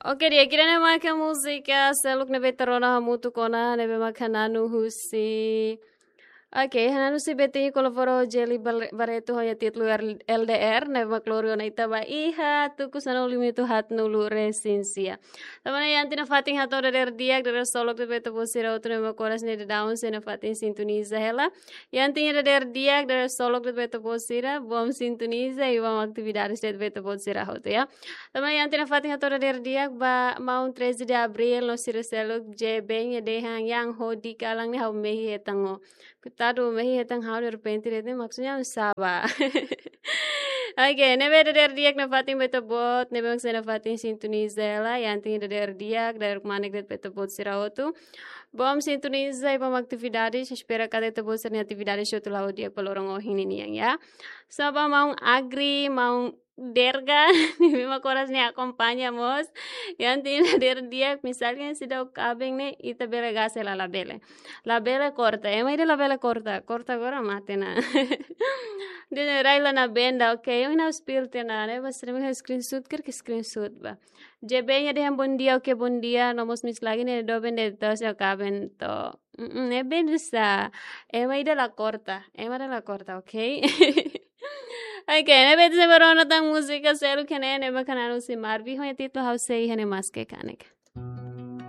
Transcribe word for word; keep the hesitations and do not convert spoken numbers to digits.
Oke, di'ak, ida-ne'e maka múzika seluk ne'ebé ita rona hamutuk ona, ne'ebé maka na'an husi. Oke, na'an husi Betinho kolabora ho Gelly Bar-, Barreto ho nia títulu R-, L D R, ne'ebé mak lori ona ita ba iha tuku sanulu minutu haatnulu resin sia. Tanba ne'e iha tiha ona fatin hato'o dadeer di'ak, dadeer solok de'it ba ita-boot sira hotu ne'ebé mak oras ne'e daudaun sei nafatin sintoniza hela. Iha tiha ona dadeer di'ak, dadeer solok de'it ba ita-boot sira, bom sintoniza i bom atividades de'it ba ita-boot sira hotu, ya. Tanba ne'e iha tiha ona fatin hato'o dadeer di'ak ba maun treze de abril no sira seluk, J B nia dehan yang hodi kalan ne'e ha'u mehi hetan ó. Koitadu, mehi hetan ha'u derrepente de'it ne'e, maksudnya sá bá. Oke, ne'ebé dadeer di'ak nafatin ba ita-boot, ne'ebé mak sei nafatin sintoniza hela, iha tiha ona dadeer di'ak, dadeer kmanek de'it ba ita-boot sira hotu. Bom sintoniza i bom atividades, espera katak ita-boot sira-nia atividades hotu la'o di'ak ba loron ohin ninian, ya. Sá bá maun Agri, maun Derga, ne'ebé mak oras ne'e akompaña mós. Iha tiha ona dadeer di'ak, misalnya seidauk kaben ne'e, ita bele gás hela, labele. Labele korta, ema ida labele korta, korta agora mate ona. Dehan rai la na benda, oke, eu ainda espírito na, né? Mas também screenshot, quer que screenshot bá. J B nia dehan bom dia, oke, bom dia, no mós miss lagi ne'e doben de'it entaun seidauk kaben to'o. Mm, ne'e benda sá. Ema ida la korta, ema ida la korta, oke? Oke, ne'ebé ita sei bá rona tan múzika seluk ne'e, ne'ebé mak na'an husi Marvin, ho nia títulu Ha'u Sei Iha Ne'e Maske Kanek.